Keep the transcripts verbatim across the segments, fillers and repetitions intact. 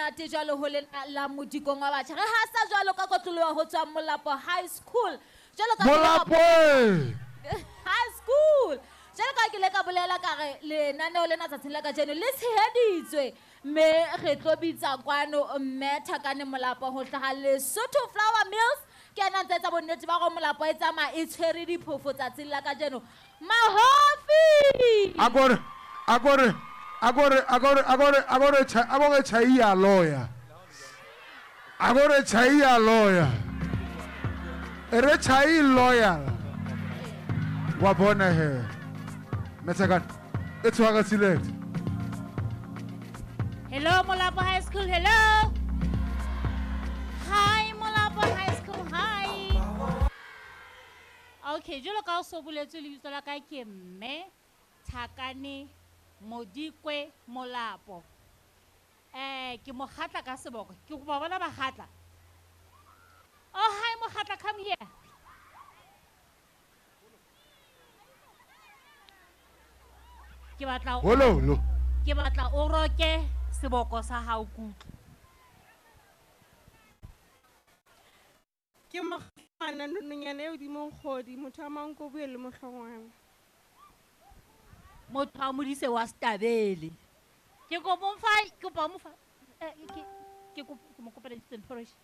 monate jwalo ho lena la modikong wa batjha. Re hasa jwalo ka kotloloha ho tswa Molapo High School. Jwalo ka Molapo High School. Jwalo ka ke le ka bolela ka re lenaneo lena tsatsing la kajeno le tsheheditswe mme re tlo bitsa kwano mme Thakane Molapo ho hlaha Lesotho Flour Mills. Ke ena ntse etsa bonnete ba hore Molapo e tsamaya e tshwere diphofo tsatsing la kajeno. Mahofi! Akore, akore, akore, akore, akore, akore, akore tjhai ya loya. Akore tjhai ya loya. E re tjhai loyal. Wa bona he. Methakane, e tshwara select. Hello Molapo High School, hello. Hi Molapo High School, hi. Okay, jwalo ka o so boletswe lebitso la ka ke mme Thakane Modikwe Molapo. Eh, ke mokgatla ka seboko. Ke kopa bona bakgatla. Oh, hi mokgatla, come here. Ke batla o Holo. Ke batla o roke seboko sa hao kutlo. Ke mokgana nonyana e hodimo kgodi, motho a mang ko bue le mohlongwana. Motho a modise wa Stabele. Ke kopa o mfa, ke kopa o mofa. Eh, ke ke kopa ke mo kopela instant porridge.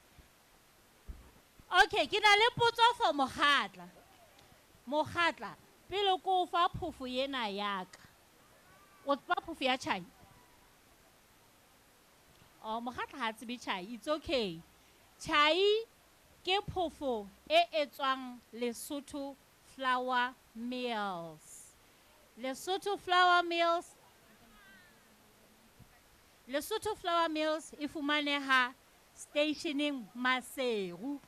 Okay, ke na le potso for mokgatla. Mokgatla, pele ko fa phofo ena ya ka. O tseba phofo ya tjhai? Oh, mokgatla ha tsebe tjhai. It's okay. Tjhai ke phofo e etswang Lesotho Flour Mills. Lesotho Flour Mills. Lesotho Flour Mills e fumaneha stationeng Maseru.